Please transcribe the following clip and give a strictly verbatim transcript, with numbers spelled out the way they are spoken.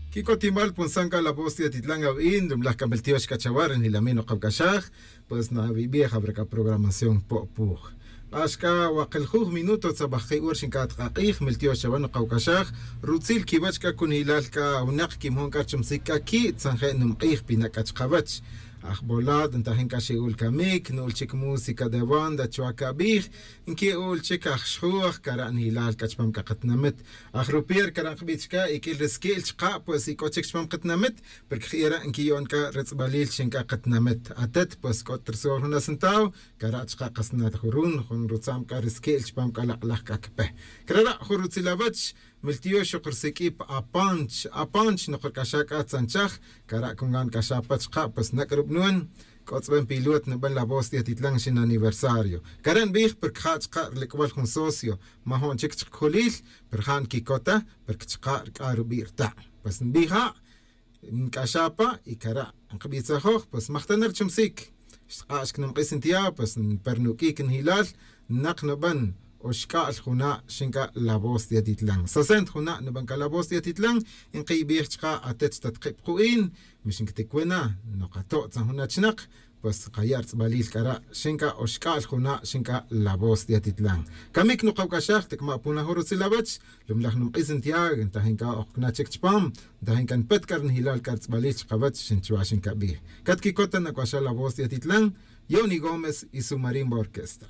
Quicotimal punsan c'a la voz de atitlan awi'in ri mlaj c'a miltiox c'a chawa' ri njilamin nokawc'axaj. Pues nawibij awre c'a programación po'puj. K'ax c'a wakeljuj minuto tzabajki' ora xinc'at k'ak'ij miltiox chawa' nokawc'axaj. Rutzil quiwech c'a cunilal c'a winak quimon c'a richumsic c'a qui' tzanje' numk'ij pinak c'a chkawech. Ajbolat ntajin c'a xi'ul camic nu'ul chic música de banda chuwa cabij. Nqui'ul chic aj xjuj cara' nilal c'a chupam c'a katinamit. Aj rupier cara' nkbij chica iq'uil ri siqui'l chka' pues ic'o chic chupam katinamit. Porque jira' nquiyo'n c'a ritz'balil xin c'a katinamit atet pues c'o ta ri sol jun asentaw. Cara' chka' kasnat jurun jun rutza'm c'a ri siqui'l chupam c'a lak'laj c'a cpe. Crara' jun rutzil awech miltiox xok risiq'ui pa apanch apanch nok ric'axa c'a tzanchaj. Cara' cungan c'axa pa chka' pues nac'a rubnon. C'o tz'ben pilot nuben la voz de atitlan xin aniversario. Cara' nbij porque ja' chka' rilic'bal jun socio. Ma jo'n chic chkajulil pero ja' nquicota porque chka' ric'a rubi' rta'. Pues nbij ja' nc'axa pa y cara' nkbitzajoj pues majtana richumsic. Xtk'a' xcnumk'is ntiya pues nper nuq'uic njilal. Nak nuben oxc'a'l juna' xinc'a la voz de atitlan sasent juna' nuben c'a la voz de atitlan. Nkibij chka' atet xtatkib ku'in. Mixinquitic wi na nokato' tzan jun achinak. Pues kaya' ritz'balil c'ara' xinc'a oxc'a'l juna' xinc'a la voz de atitlan. Camic nokawc'axaj ticma' puna jun rutzil awech. Lumlaj numk'is ntiya ntajin c'a okcna chic chupam. Ntajin c'a npet c'a ri nijilal c'a ritz'balil chkawech xin chuwa xincabij. Catquicot ta nac'uaxal la voz de atitlan. Yoni gómez y su marimba orquesta.